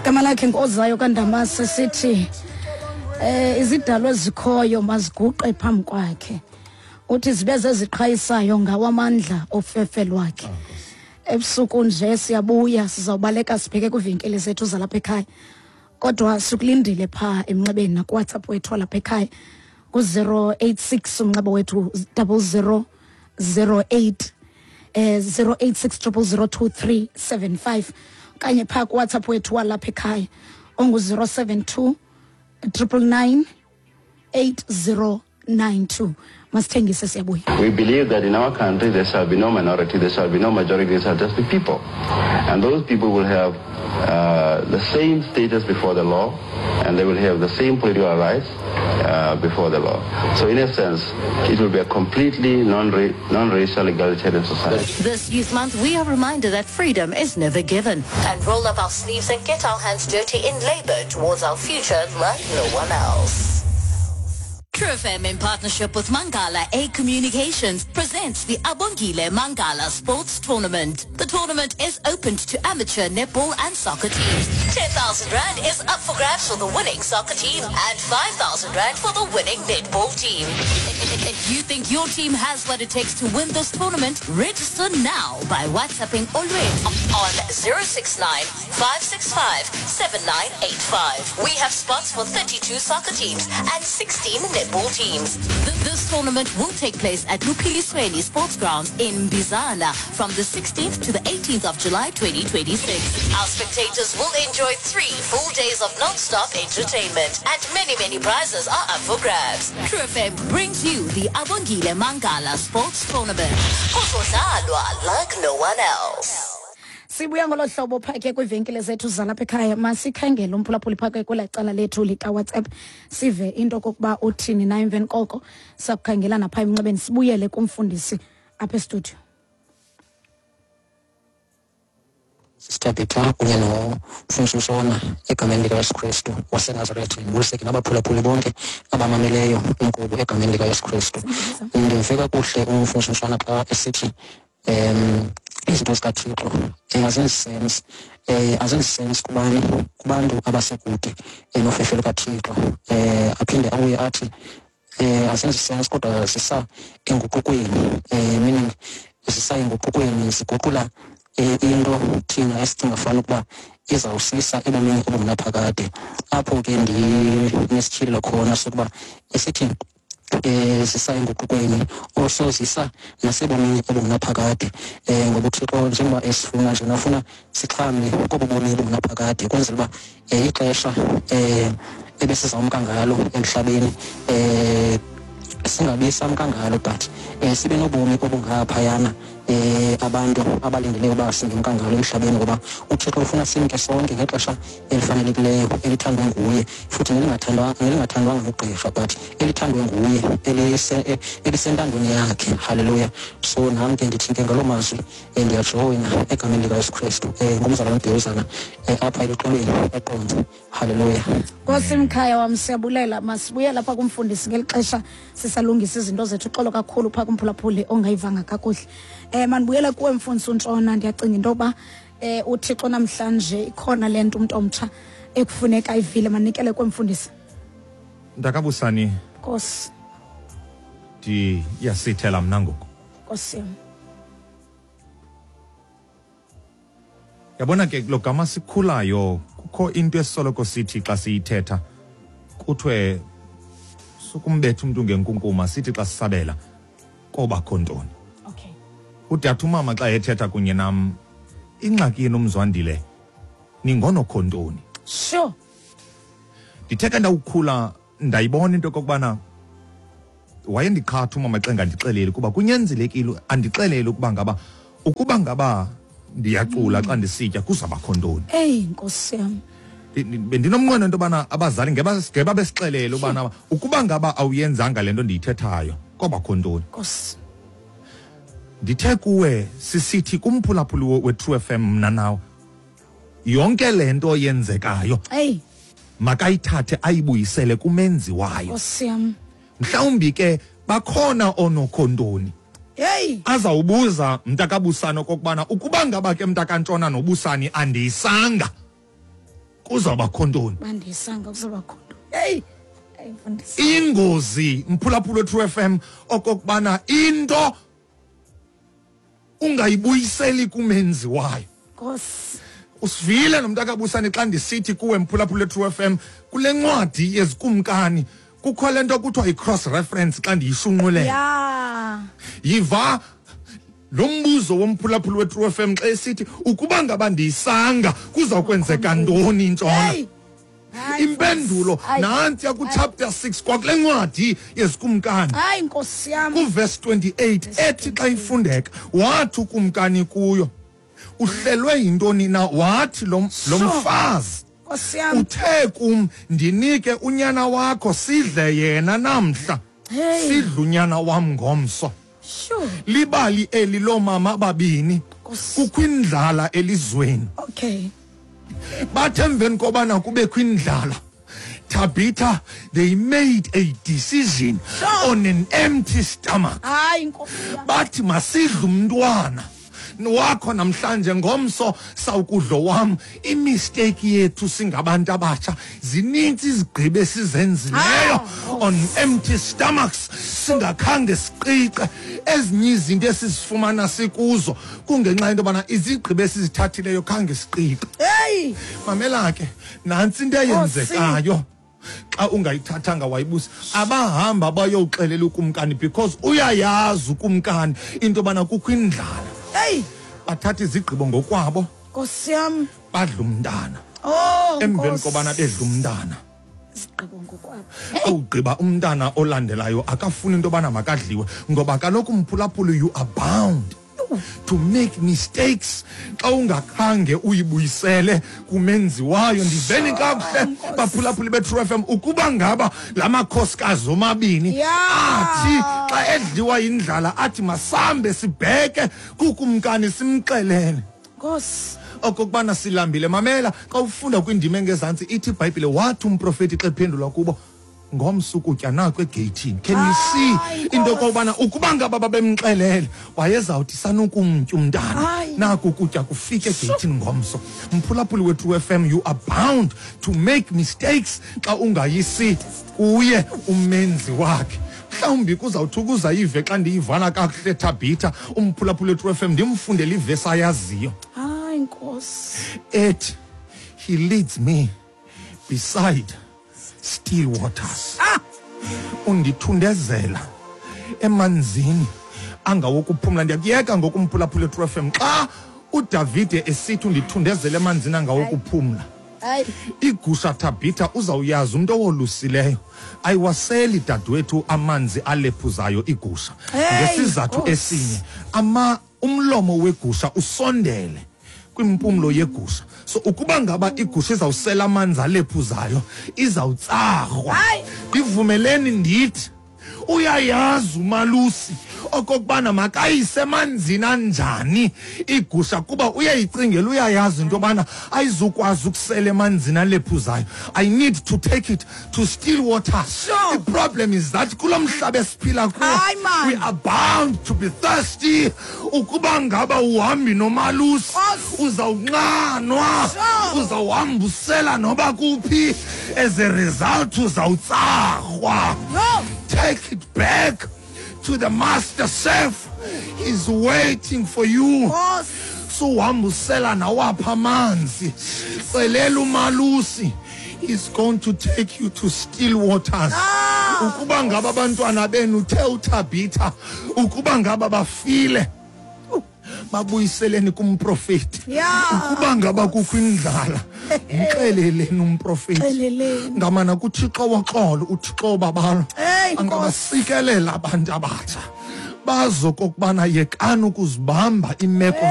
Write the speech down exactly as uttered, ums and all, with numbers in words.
Igama lakhe ngozayo kaNdamase sithi eh izidalwa ezikhoyo maziguqe phambi kwakhe. Uthi zibe zeziqhayisayo ngawamandla ofefe lwakhe. Ebusuku nje siyabuya sizawubaleka sibheke kwivenkile zethu zalapha ekhaya. Kodwa sikulindile pha emnxebeni na kuWhatsApp wethu lapha ekhaya ku zero eight six umnxeba wethu double zero zero eight eh zero eight six triple zero two three seven five kanye pha ku WhatsApp wethu walapha ekhaya ongu zero seven two triple nine eight zero nine two. Masithengise siyabuya. We believe that in our country there shall be no minority, there shall be no majority, there shall just be people. And those people will have uh, the same status before the law, and they will have the same political rights uh, before the law. So in a sense, it will be a completely non-ra- non-racial egalitarian society. This Youth Month, we are reminded that freedom is never given. And roll up our sleeves and get our hands dirty in labor towards our future like no one else. True F M in partnership with Mangala A Communications presents the Abongile Mangala Sports Tournament. The tournament is open to amateur netball and soccer teams. ten thousand rand is up for grabs for the winning soccer team and five thousand rand for the winning netball team. If you think your team has what it takes to win this tournament, register now by WhatsApping Olwethu on zero six nine, five six five, seven nine eight five. We have spots for thirty-two soccer teams and sixteen netball teams. This tournament will take place at Lupilisweni Sports Grounds in Bizana from the sixteenth to the eighteenth of July twenty twenty-six. Our spectators will enjoy three full days of non-stop entertainment and many, many prizes are up for grabs. True F M brings you the Abongile Mangala Sports Tournament. Kuzodlalwa like no one else. Sibuya ngolo hlobo phake kwivenkile zethu zalapha ekhaya. Masikhangele umphulaphuli phake kwela cala lethu lika WhatsApp sive into kokuba uthini na emveni koko sakukhangela napha emnxebeni sibuyele kumfundisi apha e-studio. Sister Peter kunye nomfundisi Msona egameni likaYesu Kristu waseNazaretha, ndibuliseke nabaphulaphuli bonke abamameleyo inkqubo egameni likaYesu Kristu. Ndimve kakuhle umfundisi Msona xa esithi um izinto zikaThixo azenzi sense, eh azenzi sense kubani kubantu abasekude nofefe lukaThixo. Eh aphinde abuye athi eh azenzi sense kodwa sisa enguqukweni, eh meaning sisa enguqukweni siguqula into thina esicinga fana ukuba izawusisa ebomini obungunaphakade. Apho ke ndinesityhilelo khona sokuba esithi eh zisa enguqukweni also zisa nasebomini obungunaphakade, eh ngoba uThixo njengoba esifuna nje nafuna sixhamle kobo bomi obungunaphakade ukwenzela uba ixesha eh ebesizawumka ngalo emhlabeni eh singabi samka ngalo, but eh sibe nobomi obungaphayana eh abantu abalindeleyo uba singemka ngalo emhlabeni, ngoba uThixo ufuna simke sonke ngexesha elifanelekileyo elithandwe nguye, futhi nelingathandwa nelingathandwanga ngugqirha, but elithandwe nguye, elisentandweni yakhe. Haleluya. So nam ke ndithi ke ngaloo mazwi ndiyajoyina egameni likaYesu Kristu um ngumzalwane uBhiyozana apha eluxolweni eQonce. Haleluya. Nkosi mkhaya wam, siyabulela. Masibuye lapha kumfundisi ngeli xesha sisalungisa izinto zethu. Uxolo kakhulu phaa kumphulaphuli ongayivanga kakuhle. Eh manibuyele kuwe mfundisi uNtshona. Ndiyacinga into yoba eh uThixo namhlanje ikhona le nto umntu omtsha ekufuneka ayivile. Manikele kwemfundisi. Ndakabusani. Nkosi. Ndiyasithela mna ngoku. Nkosi. Yabona ke lo gama sikhulayo kukho into esoloko sithi xa siyithetha kuthiwe sukumbetha umntu ngenkunkuma, sithi xa sisabela kobakho ntoni. Ude athi umama xa ethetha kunye nam, ingxaki yenu Mzwandile ningonokho ntoni. Sure. Ndithe ke ndawukhula ndayibona into okokubana wayendiqhatha umama xa engandixeleli, kuba kunyanzelekile andixelele ukuba ngaba ukuba ngaba ndiyacula xa ndisitya kuzabakho ntoni. Eyi Nkosi yam. Bendinomnqweno into yobana abazali ngeba besixelele ubana ukuba ngaba awuyenzanga le nto ndiyithethayo kobakho ntoni. Nkosi. Ndithe kuwe sisithi kumphulaphuli we-True F M mna nawe, yonke le nto yenzekayo hey makayithathe ayibuyisele kumenzi wayo. Nkosi yam. Mhlawumbi ke bakhona onokhontoni Hey, azawubuza mntakabusana okokubana ukuba ngaba ke mntakantshona nobusani andiyisanga Kuzawubakho ntoni? Bandiyisanga kuzawubakho ntoni? Hey, mfundisi. Ingozi mphulaphula True F M okokubana into ungayibuyiseli kumenzi wayo. Nkosi. Usivile nomntakabusane xa ndisithi kuwe mphulaphula True F M kule ncwadi yezikumkani kukho le nto kuthiwa i-cross reference xa ndiyishunqulela. Yeah. Yiva lo mbuzo womphulaphula we-True F M xa esithi ukuba ngaba ndiyisanga kuzawukwenzeka ntoni intshona. Hey. Impendulo nanti ku chapter six kwakule ncwadi yezikumkani. Hayi Nkosi yam. Ku verse twenty-eight ethi xa ifundeka wathi ukumkani kuyo uhlelwe yintoni na, wathi lo mfazi Nkosi yam uthe kum ndinike unyana wakho sidle yena namhla sidle unyana wam ngomso. Sure. Libali eli lomama babini kukho indlala elizweni. Okay. Bathe emveni kobana kubekho indlala, Tabitha, they made a decision sure. on an empty stomach. Hayi Nkosi yam. Bathi masidle umntwana wakho namhlanje ngomso sawukudlo wam. Imistake yethu singabantu abatsha zininzi izigqibo esizenzileyo on empty stomachs, singakhange siqiqe ezinye izinto esizifumana sikuzo kungenxa yento yobana izigqibo esizithathileyo khange siqiqe. Hey, mamela ke nantsi into eyenzekayo xa ungayithathanga wayibusa. Abahamba bayowuxelela ukumkani because uyayazi ukumkani into yobana kukho indlala. Hey, bathatha izigqibo ngokwabo. Nkosi yam. Badla umntana. Oh, emveni kobana bedla umntana. Izigqibo ngokwabo. Awugqiba umntana olandelayo akafuni into yobana makadliwe ngoba kaloku mphulaphula you are bound to make mistakes xa ungakhange uyibuyisele kumenzi wayo. Ndiveni kakuhle baphulaphuli be-True F M ukuba ngaba la makhosikazi omabini athi xa edliwa yindlala athi masambe sibheke kukumkani simxelele Nkosi okokubana silambile. Mamela xa ufunda kwindima engezantsi ithi iBhayibhile wathi umprofeti xa ephendula kubo ngomso ukutya naku egeyithini. Can you see into yokubana ukuba ngaba babemxelele wayezawuthi sanukumtya umntana naku ukutya kufike egeyithini ngomso. Mphulaphuli we-True F M, you are bound to make mistakes xa ungayisi kuye umenzi wakhe. Mhlawumbi kuzawuthi ukuza ive xa ndiyivana kakuhle Tabitha umphulaphuli we-True F M ndimfundele ivesi ayaziyo. Hayi Nkosi. Ethi he leads me beside still waters. Ah! Undithundezela emanzini angawokuphumla. Ndiyakuyeka ngokumphulaphula True F M xa uDavide esithi undithundezela emanzini angawokuphumla. Hayi. Igusha Tabitha uzawuyazi umuntu owolusileyo ayiwaseli dadewethu amanzi alephuzayo igusha. Ngesizathu esinye ama umlomo wegusha usondele kwimpumlo yegusha. So ukuba ngaba igusha izawusela amanzi alephuzayo izawutsarhwa. Ndivumeleni ndithi uyayazi umalusi okokubana makayise emanzini anjani igusha kuba uyayicingela uyayazi into yobana ayizukwazi ukusela emanzini alephuzayo. I need to take it to still waters. Sure. The problem is that kulo mhlaba esiphila kuwo we are bound to be thirsty. Ukuba ngaba uhambi nomalusi uzawunxanwa, uzawuhamba usela noba kuphi, as a result uzawutsarhwa. Take it back to the master chef. He's waiting for you. Suhambusela nawapha amanzi. Xelela umalusi. He's going to take you to still waters. Ukuba ngaba abantwana benu uthe uThabitha, ukuba ngaba bafile, babuyiseleni kumprofeti. Ukuba ngaba kukho indlala, mxeleleni umprofeti. Ngamana kuThixo woxolo, uThixo obabalo angabasikelela abantu abatsha bazo kokubana yekani ukuzibamba imeko